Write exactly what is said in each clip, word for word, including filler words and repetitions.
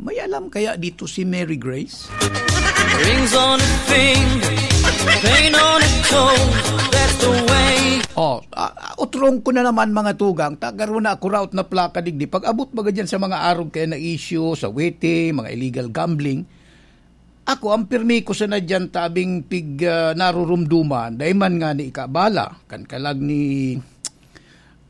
May alam kaya dito si Mary Grace? Rings on a finger, pain on a toe, that's the way. Oh, ah, ah, utrong ko na naman, mga tugang, ta garo na ako raot na plaka digdi. Pag-abot baga dyan sa mga arog kaya na issue, sa waiting, mga illegal gambling, ako, ang pirmi ko sana dyan, tabing pig, ah, narurumduman, dai man nga ni ikabala, kan kalag ni,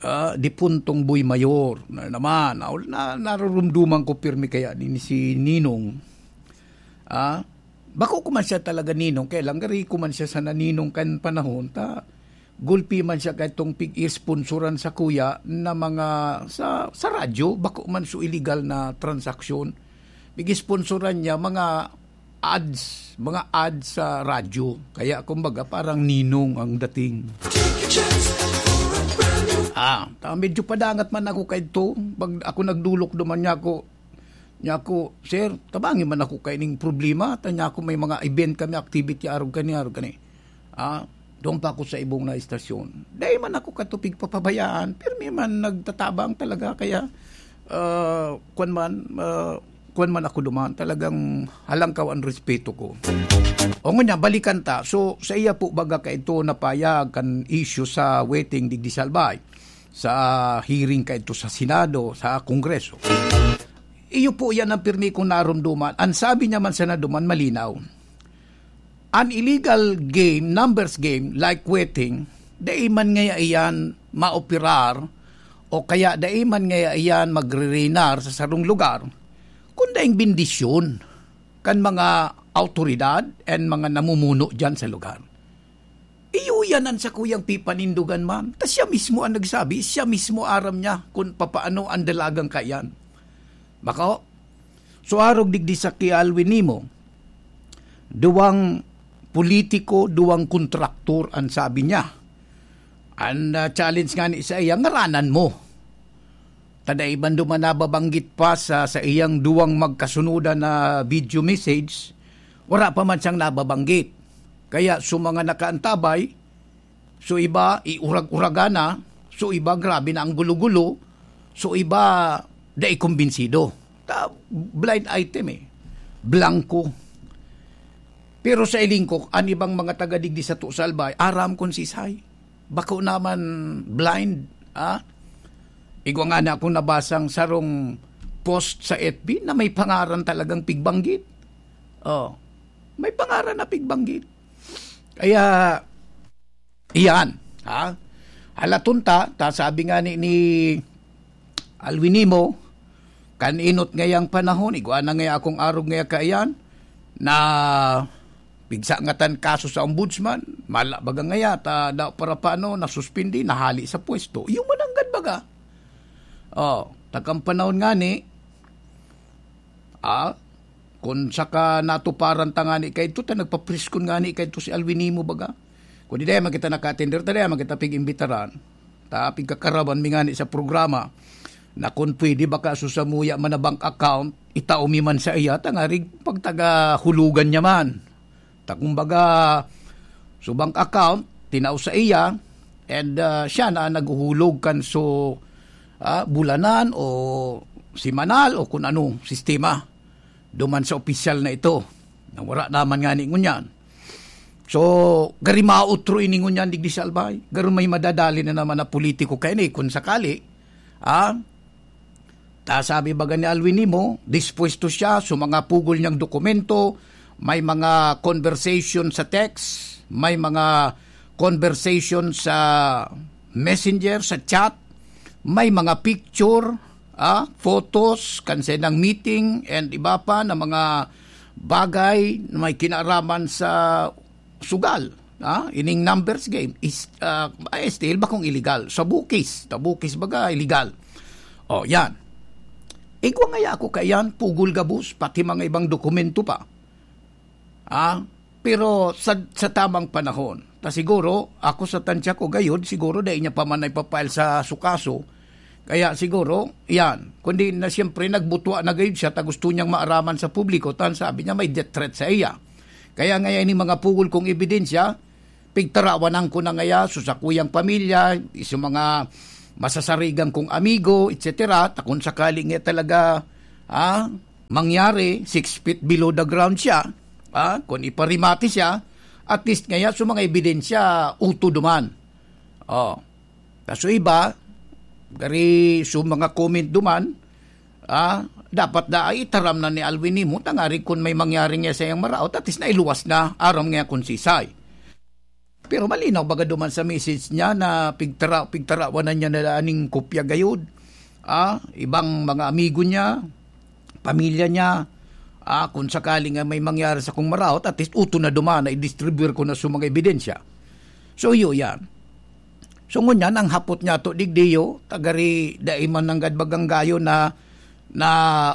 ah, dipuntong Boy Mayor na naman. Na, na, narurumduman ko pirmi kaya ni, ni si Ninong. Ah, bako ko man siya talaga ninong, kaya lang gari ko man siya sana ninong kan panahon, ta gulpi man siya kay itong pig-isponsoran sa kuya na mga sa, sa radyo, bako man so illegal na transaksyon. Pig-isponsoran niya mga ads, mga ads sa radyo. Kaya kumbaga parang ninong ang dating. Ah, ta medyo padangat man ako kay to. Pag ako nagdulok duman niya ako, niya ako, "Sir, tabangi man ako kay ning problema." Ta niya ako, "May mga event kami, activity, arog kani, arog kani." Ah, doon pa ako sa ibong na istasyon. Dai man ako katupig papabayaan. Pirmi man nagtatabang talaga. Kaya, ah, kwan man, ah, kwan man ako duman. Talagang halangkaw ang respeto ko. O ngunyan, balikan ta. So, sa iya po baga kaito napayag kan issue sa waiting digdi sa Albay, sa hearing kaito sa Senado, sa Kongreso. Iyo po yan ang pirmi kong narumduman. Ang sabi niya man sa naduman, malinaw. An illegal game, numbers game, like waiting, dai man ngaya iyan maoperar o kaya dai man ngaya iyan magre-reinar sa sarong lugar, kun daing bendisyon kan mga awtoridad and mga namumuno diyan sa lugar. Iyo yan an sakuyang pipanindogan man. Ta siya mismo ang nagsabi, siya mismo aram niya kun papaano ang dalagang kaiyan. Bako, so arog digdi sa ki Alwin Nimo, duwang politiko, duwang kontraktor an sabi niya. An, ah, challenge ngani sa iya, ngaranan mo. Ta dai man duman nababanggit pa sa, sa iyang duwang magkasunodan na video message, wara pa man siyang nababanggit. Kaya so mga nakaantabay, so iba, iurag-uragan na, so iba, grabe na ang gulo-gulo, so iba, dai kumbinsido. Ta, blind item eh. Blanco. Pero sa iling ko, an ibang mga taga digdi sa Tusalbay, aram kon sisay. Bako naman blind, ah? Igwa nga na akong nabasang sarong post sa F B na may pangaran talagang pigbanggit. Oh, may pangaran na pigbanggit. Kaya, iyan, ha? Halaton ta, ta sabi nga ni, ni Alwin Nimo, kan inot ngayang panahon, igwa na ngaya akong arog ngaya kaiyan, na pigsa ngatan kaso sa ombudsman, mala baga ngaya, ta daw para paano, nasuspindi, nahali sa pwesto. Iyo mananggad baga. Oh, takang panahon ngani, ah, kun saka natuparan ta ngani kaidto, ta nagpapriskon ngani kaidto si Alwin Nimo baga. Kun di dai man kita naka-attender, ta dai man kita pig-imbitaran. Ta pigkakaraban mi ngani sa programa na kun pwede baka so samuya man na bank account, itao mi man sa iya, tangarig pagtagahulugan niya man. Ta kumbaga, so bank account, tinao sa iya, and, ah, siya na ang naghuhulog kan so, ah, bulanan o simanal o kun anong sistema duman sa opisyal na ito. Na wala naman ngani ngunyan. So, gari mautro ini ngunyan digdi sa Albay. Garo may madadali na naman na politiko kaini, kun sakali, ah, ta sabi baga ni Alwin Nimo, dispuesto siya sa mga pugol niyang dokumento, may mga conversation sa text, may mga conversation sa messenger, sa chat, may mga picture, ah, photos, kan sa ilang meeting, and iba pa na mga bagay na may kinaaraman sa sugal, ah, ining numbers game is, ah, ay, still bakong illegal. Sa bukis, sa bukis baga, illegal. Oh, yan. Igwa ngaya ako kaiyan, pugol gabos, pati mga ibang dokumento pa. Ah, pero sa, sa tamang panahon. Ta siguro, ako sa tansya ko gayod, siguro dai niya pa man ipapile sa sukaso. Kaya siguro, yan. Kundi na siyempre, nagbutwa na gayod siya, ta gusto niyang maaraman sa publiko, tan sabi niya may death threat sa iya. Kaya ngayon, yung mga pugol kong ebidensya, pigtarawanan ko na ngaya, so sa kuyang pamilya, sa mga masasarigan kong amigo, et cetera, ta kung sakali nga talaga, ah, mangyari, six feet below the ground siya, ah, kung iparimati siya, at least ngaya, so mga ebidensya, uto duman. Oh. Kaso iba, gari so mga comment duman, ah, dapat da ay itaram na ni Alwin Nimo, tangari kun may mangyari nga sa iyang maraot, at least nailuwas na, aram nga kun sisay. Pero malinaw baga duman sa message niya na pigtara-, pigtarawan na niya na aning kopya gayod. Ah, ibang mga amigo niya, pamilya niya, ah, kung sakali nga may mangyari sa kong maraot, at least uto na duman na i-distribute ko na sa mga ebidensya. So, iyo yan. So, ngunyan, ang hapot niya to, digdiyo, tagari, dai man nanggad baganggayo na, na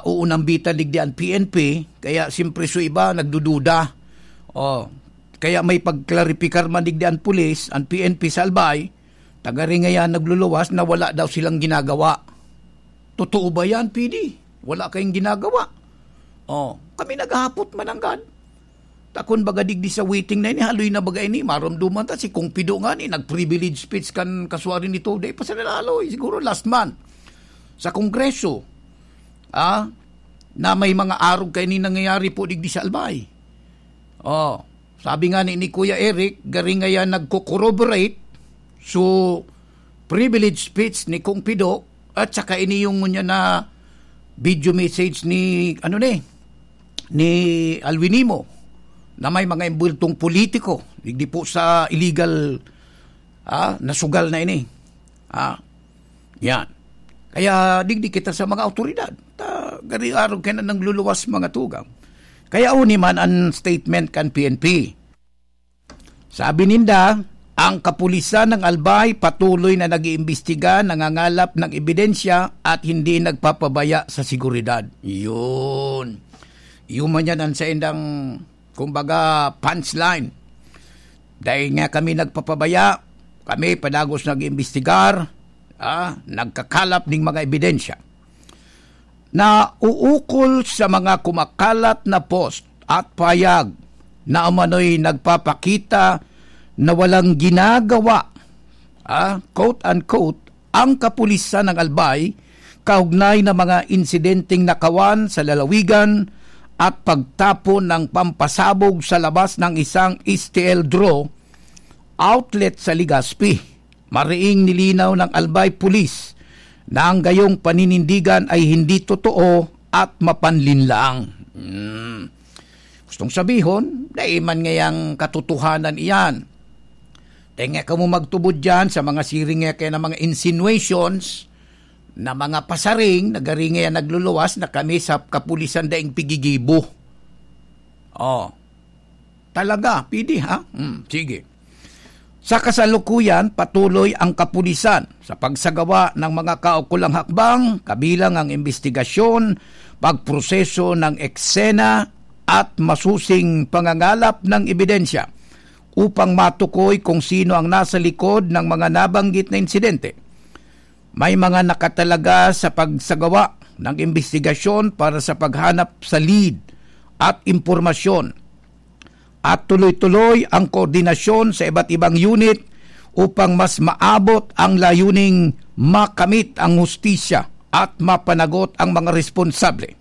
uunambitan digdi ang P N P, kaya siyempre so iba, nagdududa. Oh, kaya may pagklaripikar man digdi ang pulis, ang P N P sa Albay, tagari ngayan nagluluwas na wala daw silang ginagawa. Totoo ba yan, P D? Wala kayong ginagawa? Oh, kami naghahapot mananggad. Takon baga digdi sa waiting na ini, haloy na baga ini, maromdoman ta si Kong Pido nga ni, nag-privilege speech kan kaswari nito, dai pa sa nalaloy, siguro last month, sa Kongreso, ah, na may mga arog kaini nangyayari po digdi sa Albay. Oh, sabi nga ni, ni Kuya Eric, garing nga yan nagko-corroborate, so, privilege speech ni Kong Pido, at saka ini yung ngunyan na video message ni, ano ni, ni Alwin Nimo, na may mga embultong politiko, digdi po sa illegal, ah, na sugal na ini. Ah, yan. Kaya digdi kita sa mga awtoridad. Ta, gari arog kaya na nagluluwas mga tugang. Kaya uni man ang statement kan P N P. Sabi ninda, ang kapulisan ng Albay patuloy na nag-iimbestiga, nangangalap ng ebidensya at hindi nagpapabaya sa seguridad. Yun. Yun man yan ang saindang, kumbaga, punchline. Dahil nga kami nagpapabaya, kami padagos nag-iimbestigar, ah, nagkakalap ning mga ebidensya. Na uukol sa mga kumakalat na post at payag na umano'y nagpapakita na walang ginagawa, ah, quote-unquote, ang kapulisan ng Albay kaugnay ng mga insidenteng nakawan sa lalawigan at pagtapon ng pampasabog sa labas ng isang S T L draw outlet sa Legazpi. Mariing nilinaw ng Albay Police na ang gayong paninindigan ay hindi totoo at mapanlinlang. Hmm. Gustong sabihon, dai man ngayang katotohanan iyan. Tenga kamo magtubod diyan sa mga siring nga kaya na mga insinuations na mga pasaring na gari ngayan nagluluwas na kami sa kapulisan daing pigigibo. Oh. Talaga, P D, ha? Hmm, sige. Sa kasalukuyan, patuloy ang kapulisan sa pagsagawa ng mga kaukulang hakbang, kabilang ang imbestigasyon, pagproseso ng eksena, at masusing pangangalap ng ebidensya upang matukoy kung sino ang nasa likod ng mga nabanggit na insidente. May mga nakatalaga sa pagsagawa ng imbestigasyon para sa paghanap sa lead at impormasyon, at tuloy-tuloy ang koordinasyon sa iba't ibang unit upang mas maabot ang layuning makamit ang hustisya at mapanagot ang mga responsable.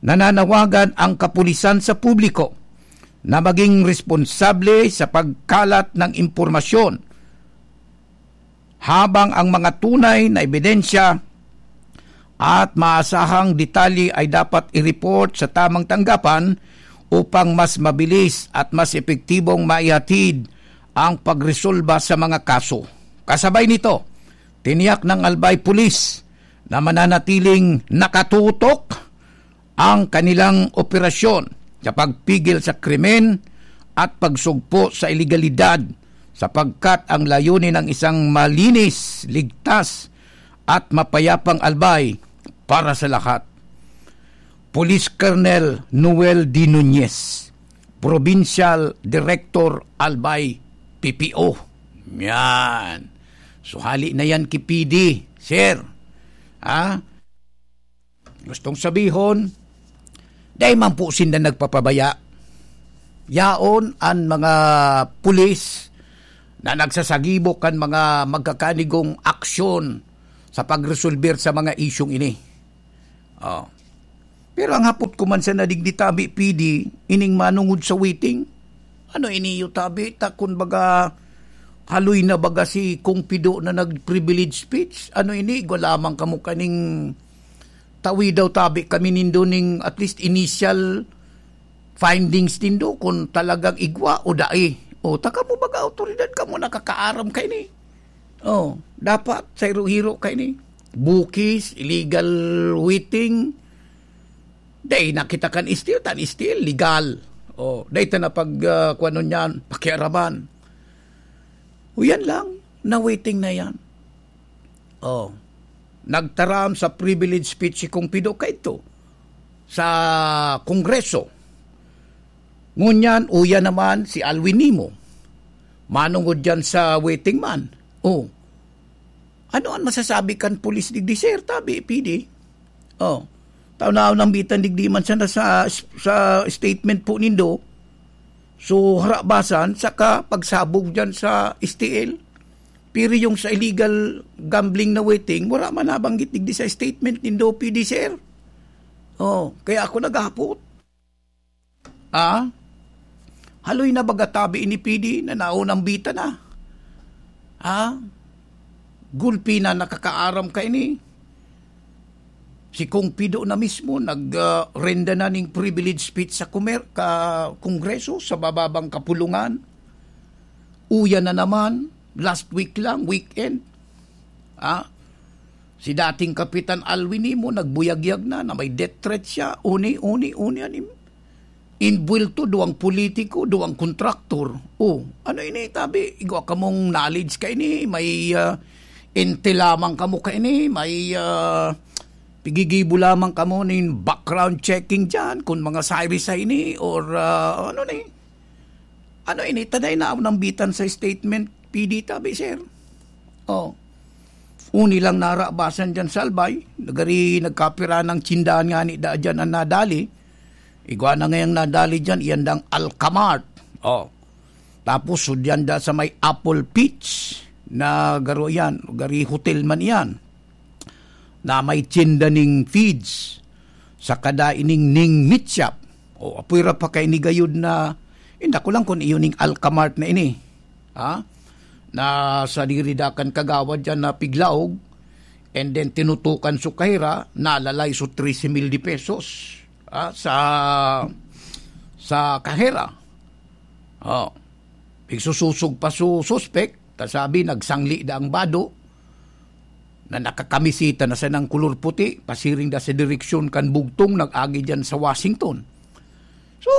Nananawagan ang kapulisan sa publiko na maging responsable sa pagkalat ng impormasyon, habang ang mga tunay na ebidensya at maasahang detalye ay dapat i-report sa tamang tanggapan upang mas mabilis at mas epektibong maihatid ang pagresolba sa mga kaso. Kasabay nito, tiniyak ng Albay Police na mananatiling nakatutok ang kanilang operasyon sa pagpigil sa krimen at pagsugpo sa ilegalidad, sapagkat ang layunin ng isang malinis, ligtas, at mapayapang Albay para sa lahat. Police Colonel Noel D. Nunez, Provincial Director, Albay, P P O. Yan. So, hali na yan ki P D, sir. Ha? Gustong sabihon, dai man po sinda nagpapabaya. Yaon an mga pulis na nagsasagibo kan mga magkakanigong aksyon sa pagresolber sa mga isyung ini. Oh. Pero ang hapot ko man sa nadigdi tabi, P D, ining manungod sa waiting, ano ini iyo tabi? Ta kun baga, haloy na baga si Kong Pido na nag-privilege speech? Ano ini? Igwa lamang kamo kaning tawi daw tabi kami nindo ning at least initial findings nindo kung talagang igwa o dai. O, ta kamo baga awtoridad, kamo nakakaaram kaini. O, dapat sa hiro-hiro kaini. Bukis, illegal waiting, dai na kita kan S T L, ta an S T L, legal. O, dai ta na pag, ah, kung ano niyan, pakiaraman. O, yan lang, na waiting na yan. O, nagtaram sa privilege speech si Kong Pido kaito sa Kongreso. Ngunyan, uya naman si Alwin Nimo. Manungod diyan sa waiting man. O, ano an masasabi kan pulis digdi, sir? Tabi, P D. O, tawnaw nang bitan digdi man sana sa, sa statement po nindo. So, harabasan, saka pagsabog diyan sa S T L. Pero yung sa illegal gambling na waiting, wala man nabanggit digdi sa statement nindo, P D, sir. O, kaya ako naghapot. Ah? Haloy na baga tabi ini, P D, na naunang bita na. Ah? Gulpi na nakakaaram kaini. Si Kong Pido na mismo nag, ah, renda na ning privilege speech sa kumer-, ka Kongreso, sa bababang kapulungan. Uya na naman, last week lang, weekend. Ah? Si dating Kapitan Alwin Nimo nagbuyagyag na, na may death threat siya. Uni, uni, uni, anim. Inbuwelto, duwang politiko, duwang kontraktor. O, ano ini, tabi? Igwa kamong knowledge kaini, may, ah, intel lamang kamo kaini, may, ah, pigigibo lamang kamo nin background checking diyan, kung mga sirisa ini, or, ah, ano ni? Ano ini? Ta dai naunang bitan sa statement, P D, tabi, sir. O. Uni lang narabasan diyan sa Albay, nagari nagkapira ng tsindahan ngani daa diyan an nadali. Igwa na ngayang nadali diyan, iyan dang Alkamart. O. Tapos, sudyan da sa may Apple Peach na garo yan, gari hotel man iyan, na may tsinda ning feeds, saka da ining ning meat shop. O, apoy ra pa kay ni gayod na, inda ko lang kun iyo ning Alkamart na ini. Ha? Na sadiri da kan kagawad diyan na piglaog, and then tinutukan su kahera, nalalay su trese mil de pesos, ha? Sa, sa kahera. O. Pigsususog pa su suspek, ta sabi, nagsangli da ang bado na nakakamisita na sanang kulor puti, pasiring da sa direksyon kan bugtong, nag-agi diyan sa Washington. So,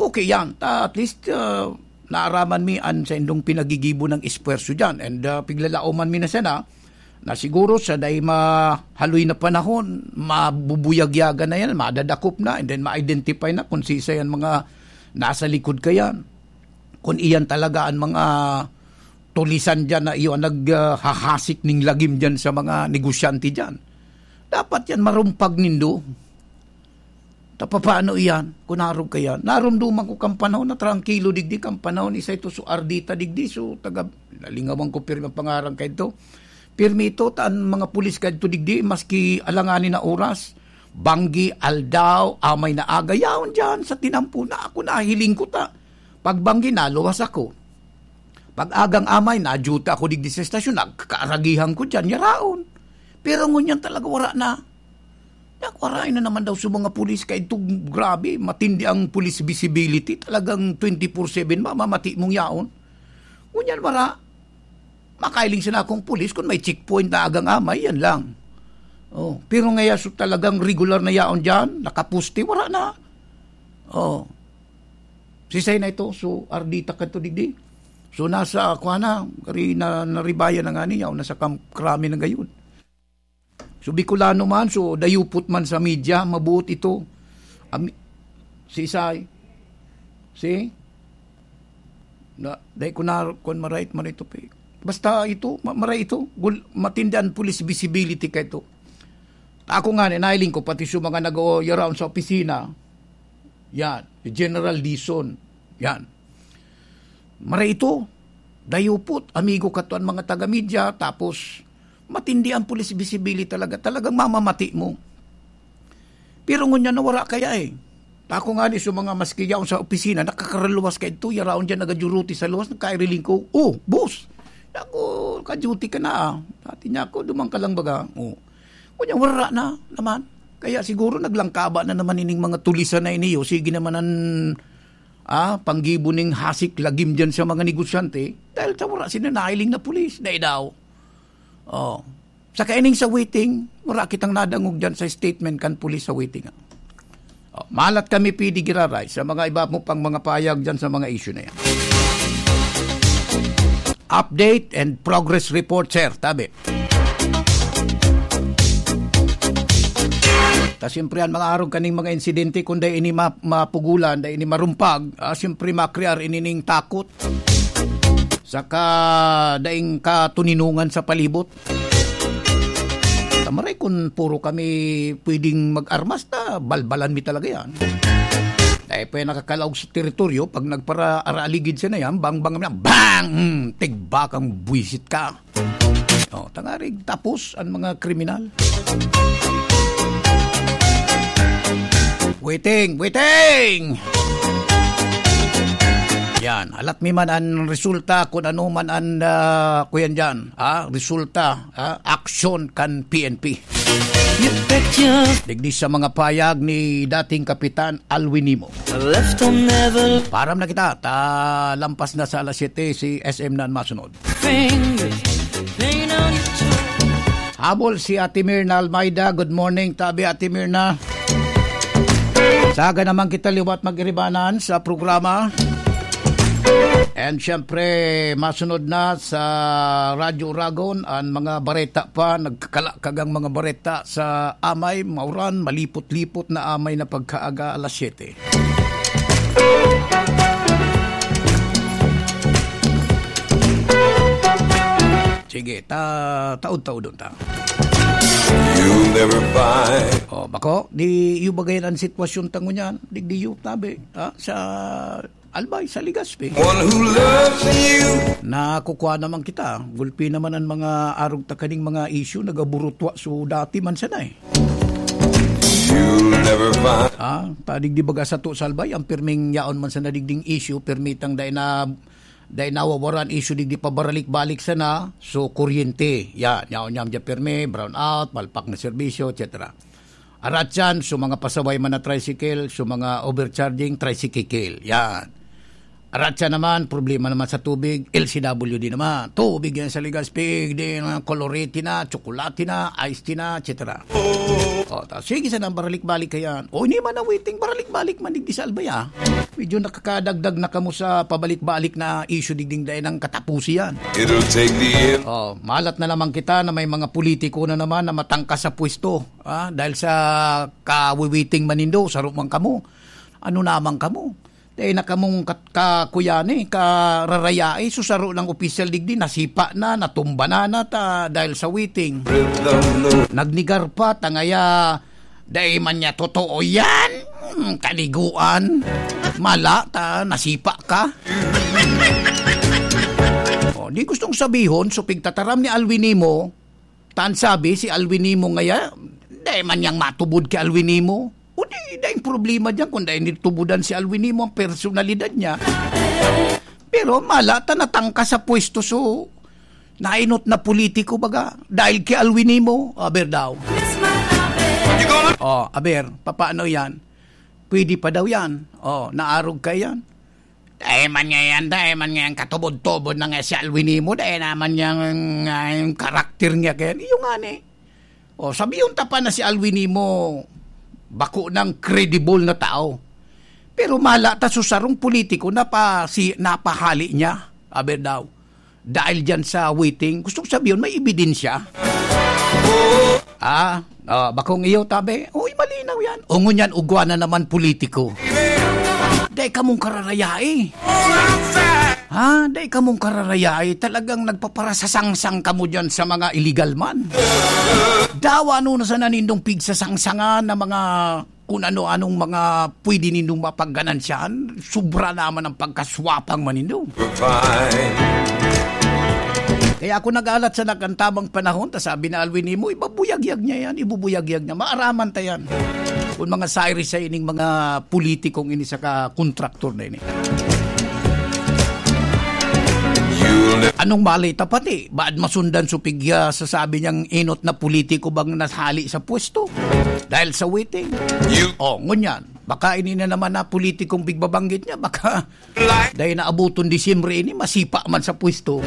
okay yan. Ta, at least, ah, naaraman mi an saindong pinagigibo ng esfuerso diyan. And, ah, piglalaoman mi na sana na siguro sa dai mahaloy na panahon, mabubuyagyagan na yan, madadakop na, and then ma-identify na kung sisay an mga nasa likod kayan. Kung iyan talaga an mga tulisan diyan na iyo an nag, ah, hahasik ning lagim diyan sa mga negosyante diyan. Dapat yan marumpag nindo. Ta papaano iyan? Kun arog ka yan. Narumduman ko kan panahon na trangkilo digdi, kan panahon isa ito so Ardita digdi, so taga, nalingawan ko pirmi ang pangaran kaito. Pirmi ito, ta an mga pulis kaito digdi, maski alanganin na oras, banggi, aldaw, amay na aga, yaon diyan sa tinampo na ako nahiling ko ta. Pagbanggi, naluwas ako. Pag agang amay, na-duty ako digdi sa estasyon, nagkakaragihan ko diyan, yaraon. Pero ngunyan talaga wala na. Nagwaray na naman daw sa mga pulis, kay itong grabe, matindi ang police visibility. Talagang twenty-four seven, mamamati mong yaon. Ngunyan, wala. Makailing sana akong pulis kung may checkpoint na agang amay, yan lang. Oh, pero ngaya, so talagang regular na yaon diyan, nakapuste, wala na. Oh. Sisay na ito, so Ardita kadto digdi. So nasa, kuha na, kari na, naribayan na nga niya, o nasa kam-, krami na gayon. So Bicolano man, so dayupot man sa media, mabuot ito. Ami-, si Isay, si, na, dai ko na, kung marait man ito, pe. Basta ito, ma-, maray ito, gul-, matindi an police visibility kaito. Ako nga, nailing ko, pati sa mga nag-o-, around sa opisina, yan, si General Dizon, yan. Maray ito, dayupot, amigo ka to ang mga taga-media, tapos matindi ang police visibility talaga, talagang mamamati mo. Pero ngunyan na wara kaya eh. Ako nga ni sa mga maski yaon sa opisina, nakakaraluwas ka ito, yaraon dyan, nagaduty sa luwas, nagkairilingko. "Oh, boss! Ako, ka-duty ka na ah." Dati niya ako, duman ka lang baga. Oh. Ngunyan, wara na naman. Kaya siguro naglangkaba na naman ining mga tulisan na iniyo. Sige naman ang ah, panggibo ning hasik lagim dyan sa mga negosyante dahil sa wara sila nailing na pulis. Dai daw. Oh. Sa kaining sa waiting, wala kitang nadangog dyan sa statement kan pulis sa waiting. Oh, malat kami, P D Giraray, sa mga iba mo pang mga payag dyan sa mga issue na yan. Update and progress report, sir. Tabi. Ta siyempre, ang mga arog kaning mga insidente, kung dai ini ma-, mapugulan, dai ini marumpag, ah, siyempre, makrear ini ning takot. Saka, daing katuninungan sa palibot. Tamaray, kung puro kami pwedeng mag-armas, ta, balbalan mi talaga yan. Dai pa yan nakakalaog sa teritoryo, pag nagpara-araaligid siya na yan, bang, bang, bang, bang! Hmm, tigbakang buwisit ka. Oh, tangarig tapos ang mga kriminal. Waiting, waiting! Yan, alat mi man ang resulta kung ano man ang, ah, kuyan dyan, ah, resulta, ah, aksyon kan P N P. Digdi sa mga payag ni dating Kapitan Alwin Nimo. Param na kita, ta lampas na sa alas siyete si S M na ang masunod. Habol si Ate Mirna Almeida. Good morning, tabi, Ate Mirna. Saga naman kita liwat mag-iribanan sa programa. And syempre, masunod na sa Radyo Uragon ang mga bareta pa, nagkakalakag ang mga bareta sa amay, mauran, malipot-lipot na amay na pagkaaga alas siyete. Sige, ta-, taod-taodon ta. You'll never find. Oh, bako, di iyo bagayan ang sitwasyon ta ngunyan, digdi iyo, tabi, ha? Sa Albay, sa Legazpi. One who loves you. Nakukuha naman kita. Gulpi naman ang mga arog ta kaning mga issue, nagaburutwa so dati man sana eh. You'll never find. Ah, ta digdi baga sato sa Albay, ang pirming yaon man sana digding issue, pirmitang dai na, dai nawawaran issue digdi pabaralik-balik sana, so kuryente. Yan, yaon niyam dyan pirmi, brown out, palpak na serbisyo, et cetera. Aratyan, so mga pasaway man na tricycle, so mga overcharging, tricycle. Yan. Aratyan naman, problema naman sa tubig, L C W D naman. Tubig yan sa Legazpi, di na, colorete na, tsokolate na, iced tea na, et cetera. O, ta, sige, sana baralik-balik ka yan. O, hindi man na waiting, baralik-balik man digdi sa Albay, ah. Medyo nakakadagdag na kamo sa pabalik-balik na issue digding dai nang katapusi yan. It'll take the end. O, malat na naman kita na may mga politiko na naman na matangkas sa pwesto. Ah, dahil sa kawiwiting man nindo, saro man kamo. Ano naman kamo? Dai na kamong kat-, kakuyani, kararayai, so saro lang opisyal digdi, nasipa na, natumba na, na ta, dahil sa waiting. Nagnigar pa, tangaya, dai man niya totoo yan. Hmm, kaliguan. Mala, ta, nasipa ka. O, di gustong sabihon, so pigtataram ni Alwin Nimo, Tan sabi, si Alwin Nimo ngaya, dai man niyang matubod ki Alwin Nimo. O di, daing problema diyan kung dai nitubudan si Alwin Nimo ang personalidad niya. Pero mala ta natangka sa pwesto, so, nainot na politiko baga, dahil ki Alwin Nimo, aber daw. O, aber, papaano yan? Pwede pa daw yan. O, naarog ka yan. Dai man ngayan, dai man ngayan katubod-tubod na nga si Alwin Nimo, dai naman niyang, ah, yung karakter niya kaya. Iyo nga ni. O, sabihon ta pa na si Alwin Nimo, bako nang credible na tao. Pero mala ta sa sarong politiko na pa, si, napahali niya, aber daw. Dahil diyan sa waiting, gusto ko sabihon, may ebidensya. Ah, ah, bakong iyo, tabi. Uy, malinaw yan. O ngunyan, ugwa na naman politiko. Dai kamong kararayai. Ha? Dai kamong kararayai. Talagang nagpaparasasangsang kamo diyan sa mga illegal man. Dawa ano na sana nindong pigsasangsangan na mga kung ano-anong mga pwede nindong mapagganansiyahan, sobra naman ang pagkaswapang manindo. Kaya ako nag-alat sa nagkantabang panahon, ta sabi na Alwin Nimo, ibabuyagyag niya yan, ibubuyagyag niya, maaraman ta yan. Kun mga siris sa ining mga politikong ini saka kontraktor na ini. Anong mali ta pati? Baad masundan so pigya sa sabi niyang inot na politiko bang nasali sa pwesto? Dahil sa waiting. Oh, ngunyan. Baka ini na naman na politikong pigbabanggit niya. Baka dahil naabuton Disyembre ini, masipa man sa pwesto.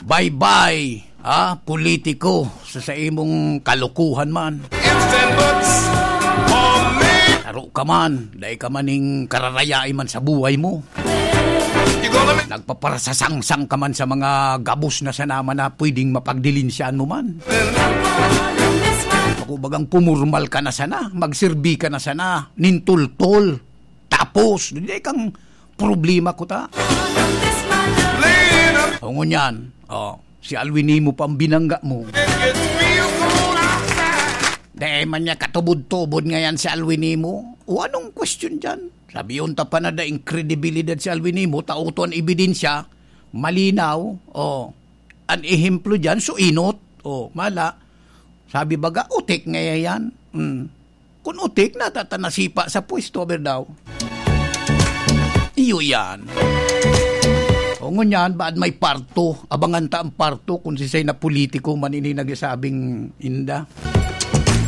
Bye-bye, ha, politiko, sa, sa imong kalukuhan man. Taro ka man, dai ka man ning kararayai man sa buhay mo. Nagpaparasasangsang ka man sa mga gabos na sana man na pwedeng mapagdilinsyahan mo man. Ako bagang pumurmal ka na sana, magserbi ka na sana, nintultol. Tapos, dai kang problema ko ta. O ngunyan, oh, si Alwin Nimo pang binangga mo. Dai man niya katubod-tubod ngayan si Alwin Nimo. O anong question dyan? Sabi yun ta pa na daing kredibilidad si Alwin Nimo, tao to an ebidensya, malinaw, oh, an ehemplo dyan, so inot, oh, mala. Sabi baga, utik ngayan. Hmm. Kun utik, natatanasipa sa pwesto, aber daw. Iyo yan. O ngunyan, baad may parto? Abangan ta ang parto kung sisay na politiko man ini nagsasabing inda.